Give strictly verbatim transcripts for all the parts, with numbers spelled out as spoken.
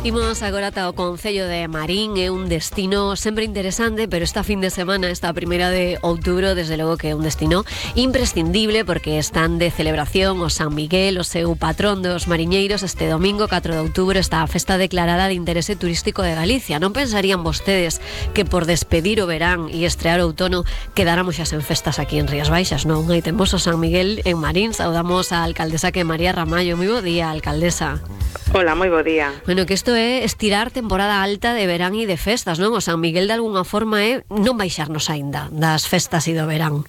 Imos agora ata o Concello de Marín. É un destino sempre interesante, pero esta fin de semana, esta primeira de outubro, desde logo que é un destino imprescindible, porque están de celebración o San Miguel, o seu patrón dos mariñeiros. Este domingo, catro de outubro, está a festa declarada de interese turístico de Galicia. Non pensarían vostedes que por despedir o verán e estrear o outono quedáramos xa sen festas aquí en Rías Baixas? Non, aí temos o San Miguel en Marín. Saudamos a alcaldesa, que é María Ramallo. Moi bo día, alcaldesa. Hola, moi bo día. Bueno, que isto é estirar temporada alta de verán e de festas, non? O San Miguel de algunha forma é non baixarnos aínda das festas e do verán.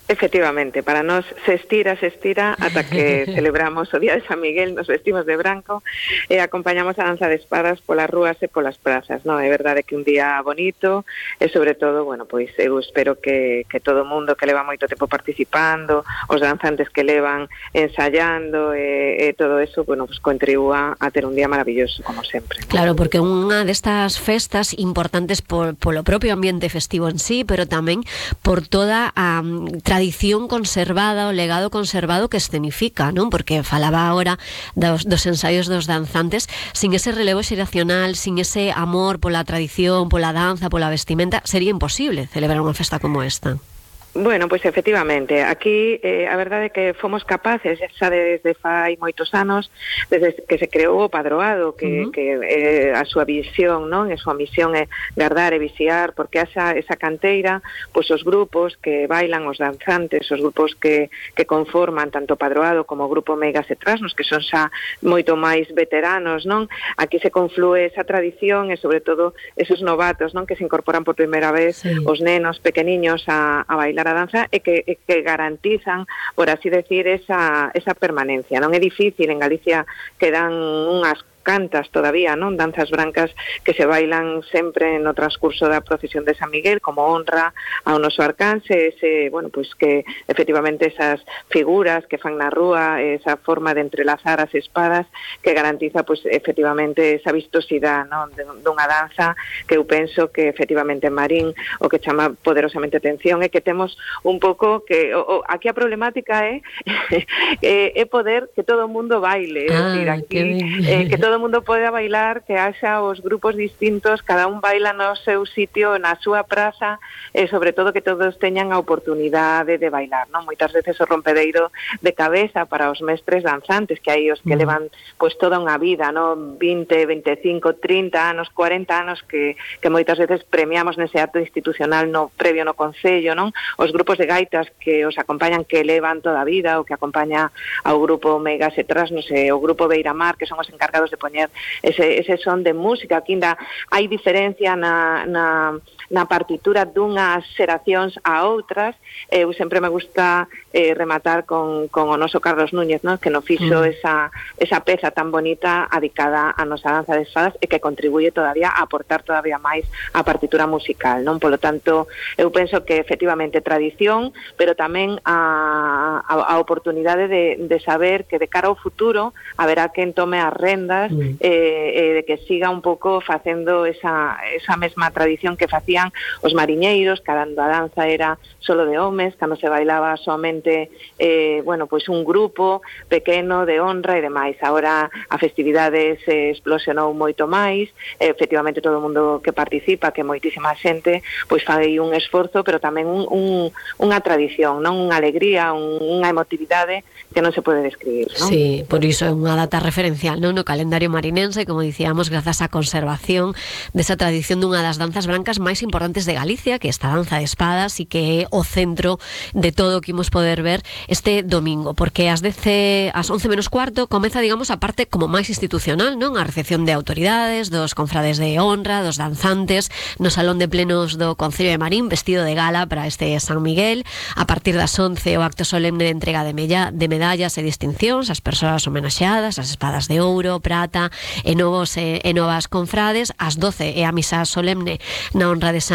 Efectivamente, para nós se estira, se estira ata que celebramos o Día de San Miguel, nos vestimos de branco e acompañamos a danza de espadas polas rúas e polas prazas, non? É verdade que un día bonito e sobre todo, bueno, pois eu espero que, que todo o mundo que leva moito tempo participando, os danzantes que levan ensayando e, e todo eso, bueno, pues contribúa a ter un día maravilloso, como sempre. Claro, porque unha destas festas importantes por, polo propio ambiente festivo en sí, pero tamén por toda a um, tradición conservada, o legado conservado que escenifica, non? Porque falaba agora dos, dos ensaios dos danzantes. Sin ese relevo xeracional, sin ese amor pola tradición, pola danza, pola vestimenta, sería imposible celebrar unha festa como esta. Bueno, pois efectivamente, aquí eh, a verdade é que fomos capaces, xa desde fai moitos anos, desde que se creou o Padroado, que, uh-huh. que eh, a súa visión, non? A súa misión é guardar e vixiar, porque esa, esa canteira, pois os grupos que bailan, os danzantes, os grupos que, que conforman tanto o Padroado como o grupo Meigas e Trasnos, que son xa moito máis veteranos, non? Aquí se conflúe esa tradición e sobre todo esos novatos, non? Que se incorporan por primeira vez, sí. Os nenos pequeniños a, a bailar a danza e que, e que garantizan, por así decir, esa, esa permanencia. Non é difícil, en Galicia quedan unhas cantas todavía, non? Danzas brancas que se bailan sempre no transcurso da procesión de San Miguel como honra ao noso arcanxe, ese, bueno, pois que efectivamente esas figuras que fan na rúa, esa forma de entrelazar as espadas que garantiza, pois efectivamente esa vistosidade, non? Dunha danza que eu penso que efectivamente en Marín o que chama poderosamente atención é que temos un pouco que o, o, aquí a problemática é é poder que todo o mundo baile, é ah, decir, aquí eh, que todo o mundo poda bailar, que haxa os grupos distintos, cada un baila no seu sitio, na súa praza, e sobre todo que todos teñan a oportunidade de bailar, non? Moitas veces o rompedeiro de cabeza para os mestres danzantes, que hai os que mm. levan pois toda unha vida, non? vinte, veinticinco, trinta anos, cuarenta anos que, que moitas veces premiamos nese acto institucional no previo no Concello, non? Os grupos de gaitas que os acompañan, que levan toda a vida, o que acompaña ao grupo Meigas e Trasnos e o grupo Beiramar, que son os encargados de poñer ese, ese son de música. Aquí ainda hai diferencia na, na, na partitura dunhas xeracións a outras. Eu sempre me gusta eh, rematar con, con o noso Carlos Núñez, ¿no? Que nos fixo mm. esa, esa peza tan bonita adicada a nosa danza de espadas e que contribuye todavía a aportar todavía máis a partitura musical, non? Polo tanto, eu penso que efectivamente tradición, pero tamén a, a, a oportunidade de, de saber que de cara ao futuro haberá quen tome as rendas mm. eh, eh, de que siga un pouco facendo esa, esa mesma tradición que facían os mariñeiros, cando a danza era solo de homes, cando se bailaba somente eh, bueno, pois un grupo pequeno de honra e demais. Agora a festividade se explosionou moito máis, eh, efectivamente todo o mundo que participa, que moitísima xente, pois fai un esforzo, pero tamén un, un, unha tradición, non? Unha alegría, un, unha emotividade que non se pode describir, non? Sí, por iso é unha data referencial, non? No calendario marinense, como dicíamos, grazas á conservación desa tradición dunha das danzas brancas máis importantes de Galicia, que é esta danza de espadas, e que é o centro de todo o que imos poder ver este domingo, porque ás dez, ás once menos cuarto comeza, digamos, a parte como máis institucional, non? A recepción de autoridades, dos confrades de honra, dos danzantes, no salón de plenos do Concello de Marín, vestido de gala para este San Miguel. A partir das once, o acto solemne de entrega de, mella, de medallas e distincións ás persoas homenaxeadas, as espadas de ouro, prata e novos e, e novas confrades. Ás doce é a misa solemne na honra de San